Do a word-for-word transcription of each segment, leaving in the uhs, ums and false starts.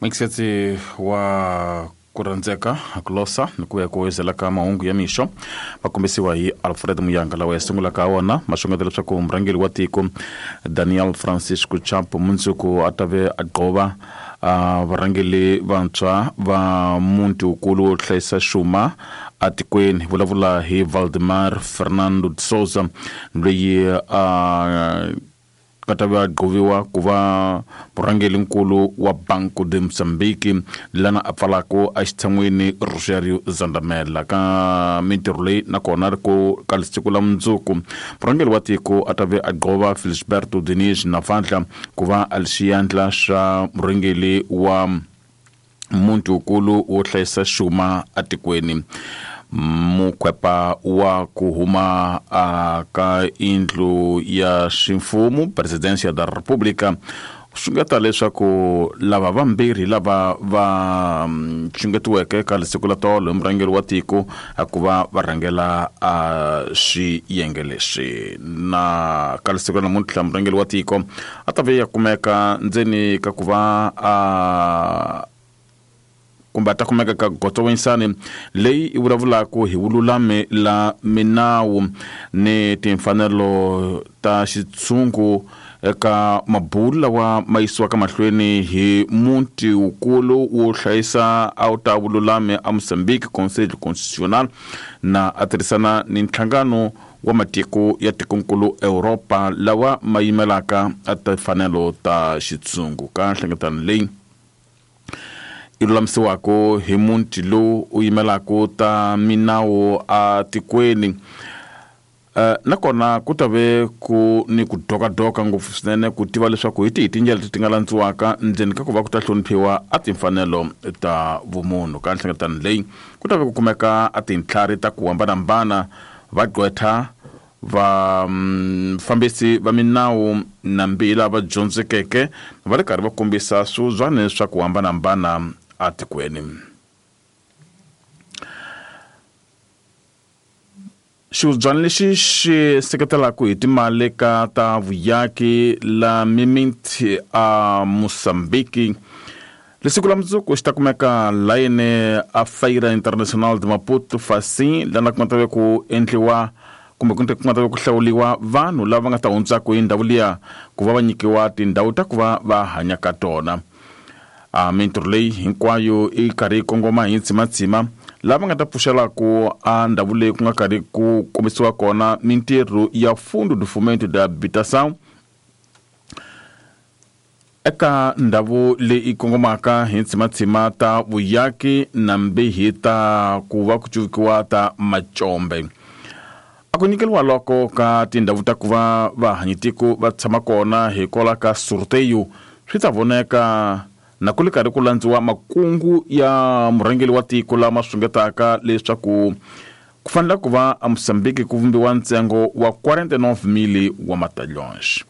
Mixetsi wa ku rhandzeka ku losa ni ku ya ku wezela ka mahungu ya mixo va kombisiwa hi Alfred Muyanga lawa ya sungulaka wona ma xungeta leswaku murhangeri wa tiko Daniel Francisco Chapo mundzuku a ta ve a gqova varhangeri vantshwa va muti wukulu wo hlayisa xuma atikweni vulavula hi Valdemar Fernando de Souza loyi a ka va gqoviwa ku va murhangerinkulu wa Banco de Mozambique lana a pfalaka exitshan'wini Rogério Zandamela ka mintirho leyi nakona ri ku ka siku la mundzuku murhangeri wa tiko a ta ve a gqova Felisberto Diniz Navandla ku va a li xiyandla xa murhangeri wa muti wukulu wo hlayisa xuma atikweni. Mukhwepa wa ku huma ka indlu ya ximfumo Presidencia da República xungeta leswaku lava vambirhi lava va xungetiweke ka siku la tolo hi murhangeri wa tiko a ku va va rhangela a xiyenge lexi na ka siku la namuntlha murhangeri wa tiko a ta ve ya kumeka ndzeni ka ku va a kumbe a ta kumeka ka Gotowensani leyi i vulavulaka hi vululami la minawu ni timfanelo ta xitshungu eka mabulu lawa ma yisiwaka mahlweni hi muti wukulu wo hlayisa a wu ta vululami a Mozambique Conseil Constitutionnel na a tirhisana ni nhlangano wa matiko ya tikonkulu Europa lawa ma yimelaka a timfanelo ta xitshungu ka nhlengeletano leyi i lulamisiwaka hi muti lowu u yimelaka ta minawu a tikweni. Uh, nakona ku ta ve ku ni ku dokadoka ngopfu swinene ku tiva leswaku hi tihi tindlela leti ti nga landziwaka ndzeni ka ku va ku ta hloniphiwa a timfanelo ta vumunhu ka nhlengeletano leyi ku ta ve ku kumeka a tintlhari ta ku hambanahambana vagqwetha va fambisi va minawu na mbila va dyondzekeke va ri karhi va kombisa swizwane swa ku hambanahambana atikweni. Xivubyana lexi xi seketelaka hi timali ka ta vuyaki la mimiti a Mozambique lesiku la mundzuku xi ta kumeka layeni a Feira Internacional de Maputo Facim lana ku nga ta ve ku endliwa kumbe ku nga ta ve ku hlawuriwa vanhu lava va nga ta hundzaka hi ndhawu liya ku va va nyikiwa tindhawu ta ku va va hanya ka tona. A mintirho leyi hinkwayo i karhi yi kongoma hi ntsimatsima lava nga ta pfuxelaku a ndhawu leyi ku nga karhi ku kombisiwa kona mintirho ya Fundo de Fomento da Habitação eka ndhawu leyi kongomaka hi ntsimatsima ta vuyaki na mbihi ta ku va ku cuvukiwa ta macombe. A ku nyikeriwa loko ka tindhawu ta ku va vahanyitiko va tshama kona hikwalaho ka sorteio swi ta voneka na ku ri karhi ku landziwa makungu ya murhangeri wa tiko lama xungetaka leswaku ku fanele ku va a Mozambique ku vumbiwa ntsengo wa quarante-nove mille wa matalhões.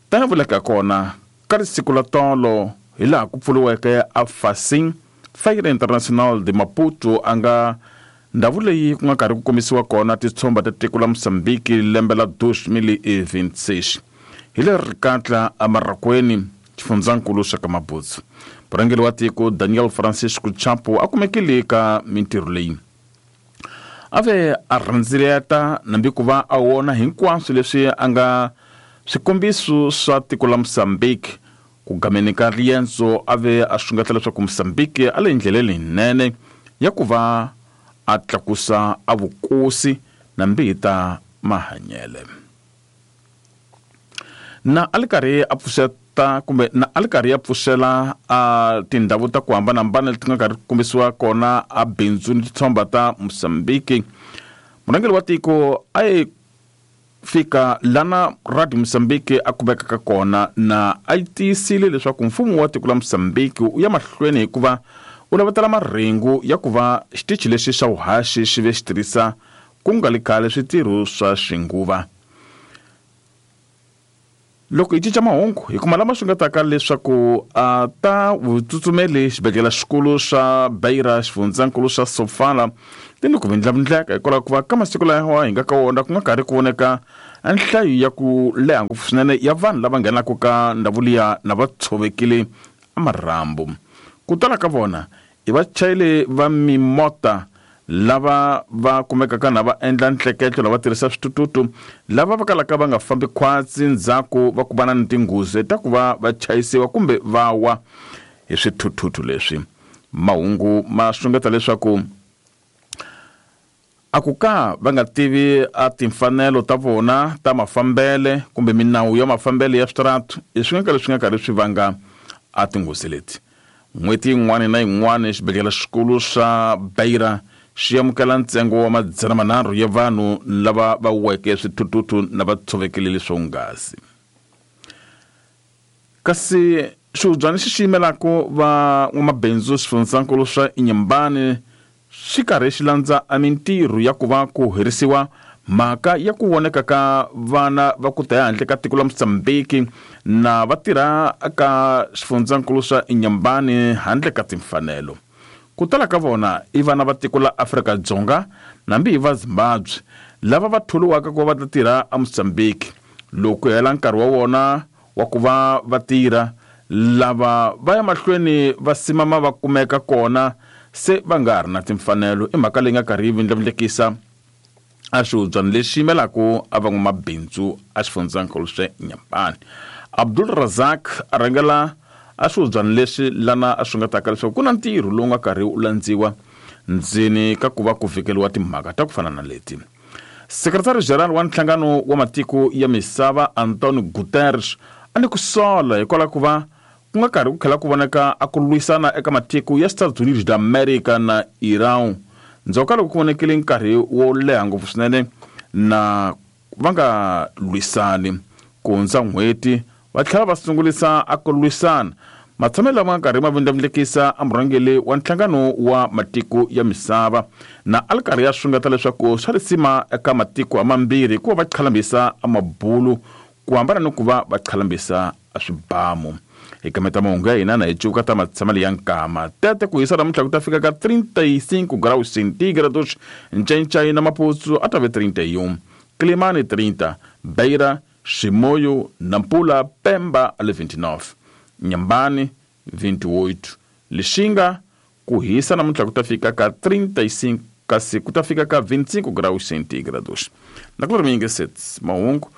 Tanihi vuleka kona ka siku la tolo hi laha ku pfuriweke a Facim Feira Internacional de Maputo a nga ndhawu leyi ku nga karhi ku kombisiwa kona titshomba ta tiko la Mozambique lembe la dois mil e vinte e seis hi le rikatla eMarakweni xifundzankulu xa ka Mabutsu. Murhangeri wa tiko Daniel Francisco Chapo a kumekile ka mintirho leyi a ve a rhandzileta nambi ku va a wona hinkwaswo leswi a nga swikombiso swa tiko la Mozambique ku gameni ka riendzo a ve a xungeta leswaku Mozambique a le ndleleni leyinene ya ku va a tlakusa a vukosi na mbihi ta mahanyele. Na a li karhi a pfuxeta kumbe na a li karhi ya pfuxela a tindhawu ta ku hambanahambana leti nga karhi ku kombisiwa kona a bindzu ni titshomba ta Mozambique murhangeri wa tiko a yi fika lana Radio Mozambique a kumekaka kona na a yi tiyisile leswaku mfumo wa tiko la Mozambique u ya mahlweni hikuva u lavatela marhengu ya ku va xitichi lexi xa vuhaxi xi ve xi tirhisa ku nga li khale switirho swa xinguva. Loko hi cinca mahungu hi kuma lama xungetaka leswaku a ta vutsutsumeli xibedhlele xikulu xa Beira xifundzankulu xa Sofala ti ni ku vindlavindleka hikwalaho ku va ka masiku lawa hi nga ka wona ku nga karhi ku voneka nhlayo ya ku leha ngopfu swinene ya vanhu lava nghenaka ka ndhawu liya na va tshovekile marhambu. Ku tala ka vona i vachayeri va mimota lava va kumekaka na va endla ntleketlo lava tirhisa switututu lava va kalaka va nga fambi khwatsi ndzhaku va ku va na ni tinghozi ta ku va va chayisiwa kumbe va wa hi swithuthuthu leswi. Mahungu ma xungeta leswaku a ku ka va nga tivi a timfanelo ta vona ta mafambele kumbe minawu ya mafambele ya switaratu i swi nga ka leswi nga karhi swi vanga a tinghozi leti. N'hweti yin'wana na yin'wana xibedhlele xikulu xa Beira xi amukela ntsengo wa madzana manharhu ya vanhu lava va weke swithuthuthu na va tshovekile leswonghasi. Kasi xihubyana xi xi yimelaka van'wamabindzu xifundzankulu swa Inhambane xi karhi xi landza a mintirho ya ku va ku herisiwa mhaka ya ku voneka ka vana va ku ta handle ka tiko la Mozambique na va tirha ka xifundzankulu swa Inhambane handle ka timfanelo. Ku tala ka vona i vana va tiko la Afrika-Dzonga nambi hi va Zimbabwe lava va tholiwaka ku va va ta tirha eMozambique. Loko hela nkarhi wa wona wa ku va va tirha lava va ya mahlweni va simama va kumeka kona se va nga ha ri na timfanelo. I mhaka leyi nga karhi yi vindlavindlekisa a xihubyana lexi yimelaka a van'wamabindzu a xifundzankulu xa Inhambane. Abdul Razak a rhangela a xihubyana lexi lana a xungetaka leswaku ku na ntirho lowu nga karhi wu landziwa ndzeni ka ku va ku vhikeliwa timhaka ta ku fana na leti. Sekretari General wa Nhlangano wa Matiko ya Misava Antonio Guterres a ni ku sola hikwalaho ku va ku nga karhi ku tlhela ku voneka a ku lwisana eka matiko ya Estados Unidos da America na Iran ndzhaku ka loko ku vonekile nkarhi wo leha ngopfu swinene na va nga lwisani ku hundza n'hweti va tlhela va sungulisa a ku lwisana. Matshamelo lama nga karhi ma vindlavindlekisa a murhangeri wa Nhlangano wa Matiko ya Misava na a li karhi ya xungeta leswaku swa risima eka matiko hamambirhi ku va va qhalambisa a mabulu ku hambana ni ku va va qhalambisa a swibamu. Hi kameta mahungu ya hina na hi cuka ta matshamelo ya nkama tete ku hisa namuntlha ku ta fika ka trinta e cinco graus centígrados, Ncencai na Maputo a ta ve trinta e um, Quelimane trinta, Beira, Chimoio, Nampula, Pemba ale vinte e nove, Inhambane vinte e oito, Lixinga ku hisa namuntlha ku ta fika ka trinta e cinco kasi ku ta fika ka vinte e cinco graus centígrados. Na ku ri mingi sets mahungu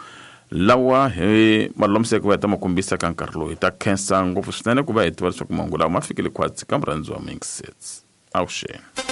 lawa hi malulamiseke ku va hi ta ma kombisa ka nkarhi lowu hi ta khensa ngopfu swinene ku va hi tiva leswaku mahungu lawa ma fikile khwatsi ka murhandzi wa mingi sets. Avuxeni.